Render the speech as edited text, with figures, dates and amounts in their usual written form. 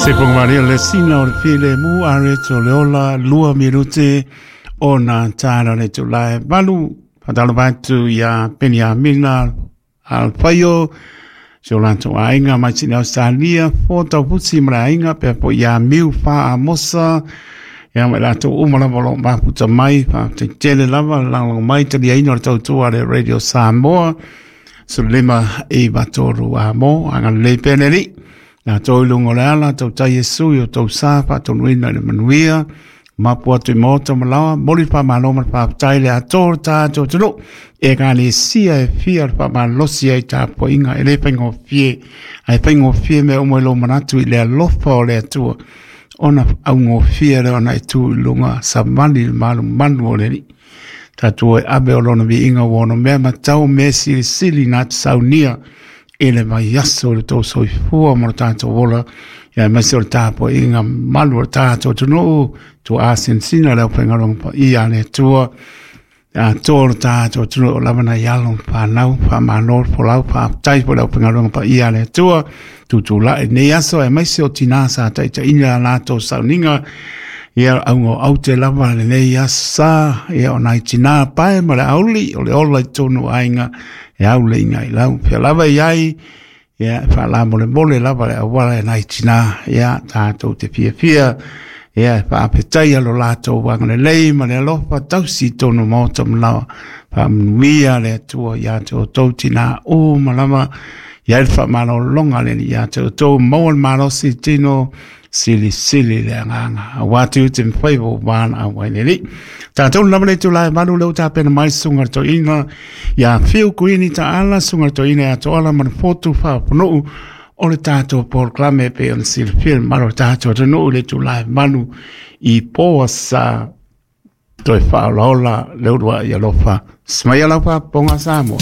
Se ponga le sina o le filemu a reto le ola 2 minute ona tāna le tulae 8. Faatalofa atu ia Peniamina Alfaio, si o latou aiga mai Sini Australia, fo taupusi ma le aiga pea po ia Miu Fa Amosa, ia ma latou uma lava o lo o mafuta mai. Faafetai lava le lagolago mai, taliaina o le tautua a le Radio Samoa. 1593 a mo agalelei pea le Alii latou i luga o le ala tautai Iesu i o tou sa faatonuina i le manuia mapu atu i maota ma laoa. Moli le faamalo ma le faafetai le atoa o le tatou atunuu, ekalesia e fia le faamalosi ai tapuaiga. E le faigofie, ae faigofie mea uma i lou manatu i le alofa o le Atua, ona augofie lea ona e tu i luga savali le malumanu o le Alii. Tatou e ave o lona viiga ua ono mea matau mea silisili na te saunia i le vaiaso i le tou soifua ma le tatou ola, ia aemaise o le tapuaiga malu o le tatou atunuu tua asinsina le aufaigaluega paia a le Atua atoa o le tatou atunuu o lava nai alo ma fanau. Faamalo le folau, faafetai foi le aufaigaluega paia a le Atua tutulai nei aso, aemaise o tinā sa taitaiina latou sauniga, ia auga o aute lava lenei asa, ia o nai tinā pae ma le auli o le ola i tonu aiga e au le inga i lau fia lava i ai, ia e faalamolemole lava le auala e nai tinā, ia tatou te fiafia ia e faafetaia lo latou agalelei ma le alofa tausi i tonu maota ma laoa. Faamanuia le Atua ia te outou tinā uma lava, ia le faamalologa le Alii ia te outou, maua le malosi tino, silisili le agaga aua te ute mawhai o wāna au ai le Alii. Tātou lava le tulae 8 le o tapena mai sunga le toina ia Whiu Kuini Taala, sunga le toina ia Toala ma le fotu whaaponuu o le tātou polokalame pe ona silafia le malo o le tātou atunuu le tulae 8 i poa sa toe whaolaola le urua i alofa. Smaia lau whaaponga Samoa.